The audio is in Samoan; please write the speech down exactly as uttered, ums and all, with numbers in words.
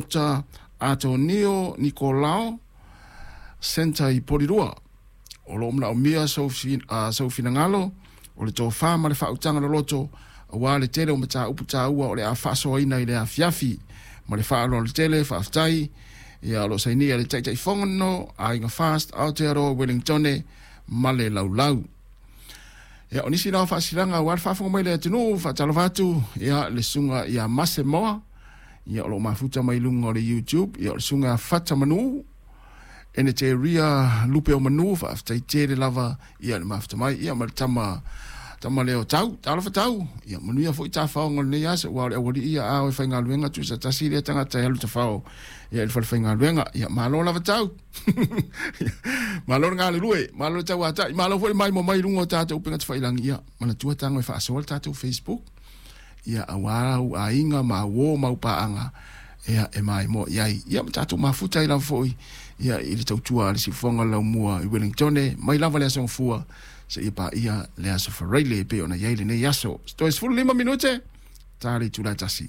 Doctor Antonio Nicolao Center i Polirua. O lo o manaomia sou uh, finagalo o le tofa ma le faautaga loloto auā le tele o mataupu taua o le a faasoaina i le afiafi. Ma le faaaloalo tele, faafetai. Ia, o lo o sainia le Taitaifono Aiga Fast Aotearoa Wellingtone ma le Laulau. Ia, o nisi na o faasilaga auā le faafofoga mai le atunuu, faatalofa atu ia le susuga ia Mase Moa, ia o lo o mafuta mai luga o le YouTube, ia o le susuga Fata Manu, ene te ria lupe o manu, faafetai tele lava ia le mafuta mai, ia ma le tama tama leo tau, talofa tau, ia manuia foi tafaoga o lenei aso, ua o le aualii ia a o e faigaluega tusa tasi lea tagata e alu tafao ia i le falefaigaluega, ia malo lava tau. Malo le galulue, malo le tauatai, malo foi le maimoa mai i luga o tatou upega tafailagi, ia manatua tago e faasoa le tatou Facebook, ia auā au aiga ma uō ma au paaga ia e maimoa i ai, ia ma tatou mafuta ai lava foi ia i le tautua a le siufofoga o le laumua i Wellingtone mai lava le aso Gafua seia paia le aso Faraile e pei ona i ai lenei aso. Toe sefulu lima minute ta le itula e tasi.